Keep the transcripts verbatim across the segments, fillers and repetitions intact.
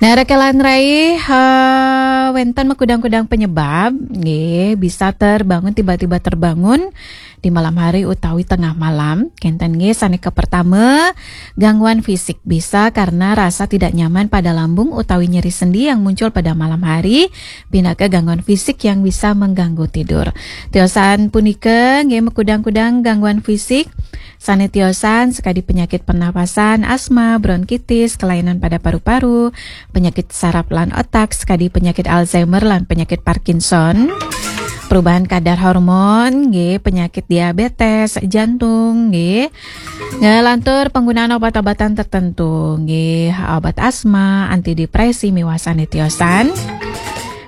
Nah, rekan-rekan rai, eh, wénten makudang-kudang penyebab, nggih, bisa terbangun, tiba-tiba terbangun di malam hari utawi tengah malam. Kénten nggih, sané kapertama, gangguan fisik, bisa karena rasa tidak nyaman pada lambung utawi nyeri sendi yang muncul pada malam hari, pinaka gangguan fisik yang bisa mengganggu tidur. Tiosan punika nggih makudang-kudang gangguan fisik sané tiosan sakadi penyakit pernapasan, asma, bronkitis, kelainan pada paru-paru, penyakit saraf lan otak, sakadi penyakit Alzheimer lan penyakit Parkinson. Perubahan kadar hormon, nggih, penyakit diabetes, jantung, nggih. Ngelantur penggunaan obat-obatan tertentu, nggih, obat asma, antidepresi, miwah sané tiosan.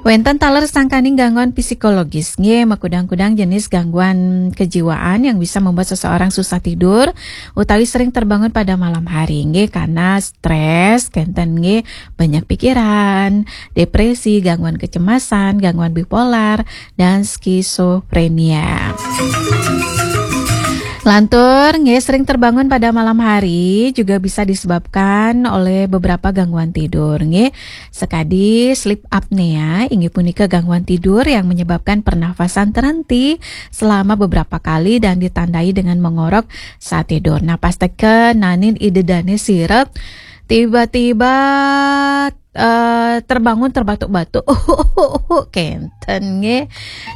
Wénten taler sangkaning gangguan psikologis, nggih, makudang-kudang jenis gangguan kejiwaan yang bisa membuat seseorang susah tidur utawi sering terbangun pada malam hari, nggih, karena stres, kénten nggih, banyak pikiran, depresi, gangguan kecemasan, gangguan bipolar, dan skizofrenia. Lantur, nggih, sering terbangun pada malam hari juga bisa disebabkan oleh beberapa gangguan tidur, nggih. Sekadi sleep apnea, inggih punika gangguan tidur yang menyebabkan pernafasan terhenti selama beberapa kali dan ditandai dengan mengorok saat tidur. Nah, pasteken nanin ida dané sira tiba-tiba eh, terbangun terbatuk-batuk. Kénten nggih.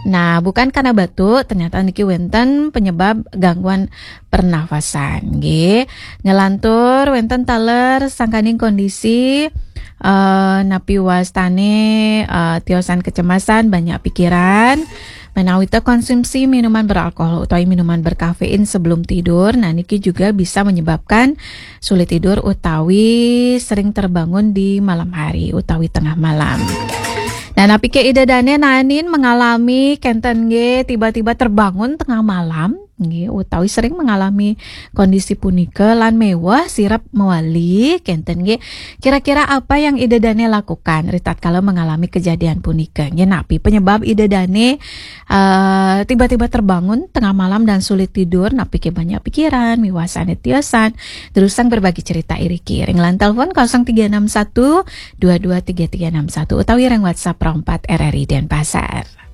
Nah, bukan karena batuk, ternyata niki wénten penyebab gangguan pernafasan nggih. Ngelantur wénten taler sangkaning kondisi eh, napi wastané eh, tiosan kecemasan, banyak pikiran. Menawi té konsumsi minuman beralkohol utawi minuman berkafein sebelum tidur, nah niki juga bisa menyebabkan sulit tidur utawi sering terbangun di malam hari utawi tengah malam. Nah, napi ké ida dané nanin mengalami kénten nggih tiba-tiba terbangun tengah malam, nggih, utawi sering mengalami kondisi punika lan méweh sirep mewali, kénten nggih. Kira-kira apa yang ida dané lakukan ritatkala mengalami kejadian punika? Nggih, napi penyebab ida dané eh, tiba-tiba terbangun tengah malam dan sulit tidur, napi ké banyak pikiran, miwah sané tiosan? Terusang berbagi cerita iriki ring line telepon kosong tiga enam satu, dua dua tiga tiga enam satu utawi ring WhatsApp Pro empat R R I Denpasar.